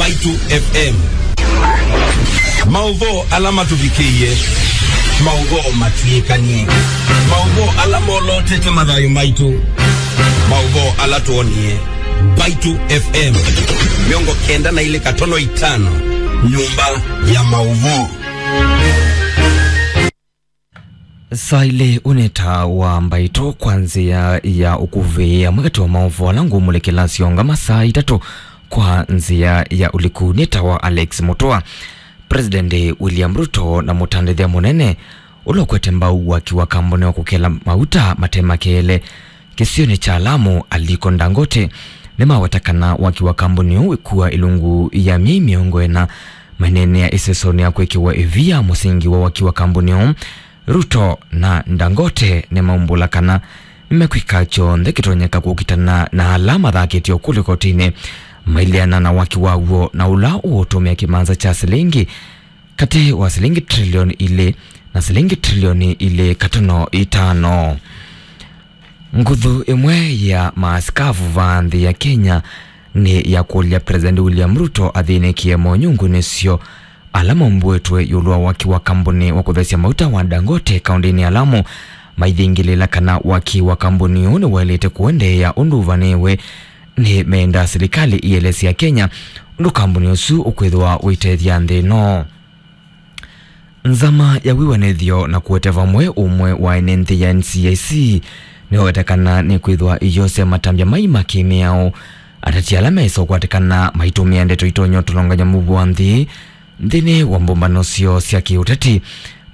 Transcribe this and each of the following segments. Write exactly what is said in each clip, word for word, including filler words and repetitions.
Mbaitu F M. Maũvoo ala matũvikĩie, maũvoo matw'ĩkanie, maũvoo ala molotete mathayũ maitũ, maũvoo ala twonie. Mbaitu F M, mĩongo kenda na ilĩ katono itano, nyũmba ya maũvoo. Saa ilĩ ũnĩ ta wa mbaitũ kwa nzĩa ya ũkuvĩ, amwe katĩ wa maũvoo ala ngũmũlĩkĩla syongama saa itatũ kwa nzĩa ya ũliku nĩ ta wa Alex Mutua. President William Ruto na mũtandĩthya mũnene ũla ũkwete mbau waki wa kambuni wa kũkela mauta mate makeele kĩsionĩ kya Lamu, Aliko Dangote, nĩmaweta kana waki wa kambuni ũũ wĩkua ĩlungu ya myei mĩongo ĩna. Maineenea ĩsesonĩ ya kwĩkĩwa ĩvia mũsingi wa waki wa kambuni ũũ, Ruto na Dangote nĩmaumbũla kana nĩmekwĩka kyonthe kĩtonyeka kũkitana na ala mathakĩtye ũkũlyo kotinĩ maileana na waki waw'o, na ũla ũũtũmĩa kĩmanza kya silingi katĩ wa silingi trilioni ilĩ na silingi trilioni ilĩ katono itano. Nguthu ĩmwe ya maasikavu vaa nthĩ ya Kenya nĩ ya kũlya President William Ruto athĩnĩkĩe monyungu nĩsyo ala maumbũĩtwe ĩũlũ wa waki wa kambuni wa kũthesya mauta wa Dangote kaũndĩnĩ ya Lamu, maithingĩlĩla kana waki wa kambuni ũũ nĩwaĩlĩte kũendeea ũndũ ũvanĩĩwe. Nĩ menda silikalĩ ĩelesya Kenya ũndũ kambuni ũsu ũkwĩthĩwa ũitethya nthĩ ĩno. Nzama ya wĩw'anĩthyo na kũete vamwe ũmwe wa ene nthĩ ya N C I C nĩwaweta kana nĩkwĩthwa ĩyosya matambya mai ma kĩ-mĩao. Ateti ala mesa ũkwatĩkana maitũmĩa ndeto itonya ũtolongany'a mũuo wa nthĩ nthĩnĩ wa mbũmbano syoo sya kĩ-ũteti,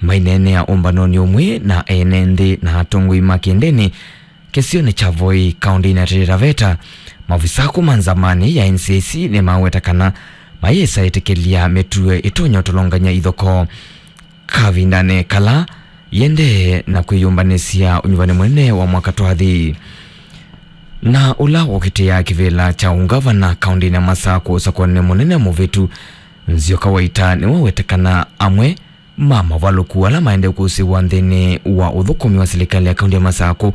maineenea ũmbanonĩ ũmwe na ene nthĩ na atongoi ma kĩndĩnĩ kĩsionĩ kya Voi, kaũndĩnĩ ya Taita Taveta. Maovisa kuma nzamanĩ ya N C I C nĩmaweta kana mayĩsa ĩtĩkĩlya mĩtũo ĩtonya ũtolongany'a ithokoo kavindanĩ kala yĩendee na kwĩyũmbanĩsya ũnyuvani mũnene wa mwaka twathi. Na ũla ũkitĩaa kĩvĩla kya ũngavana kaũndĩnĩ ya Masakũ ũsakũanĩ mũnene mũvĩtu, Nzioka Waita nĩwaweta kana amwe ma mavalũku ala maendee kũsĩwa nthĩnĩ wa ũthũkũmi wa silikalĩ ya kaũndĩ ya Masakũ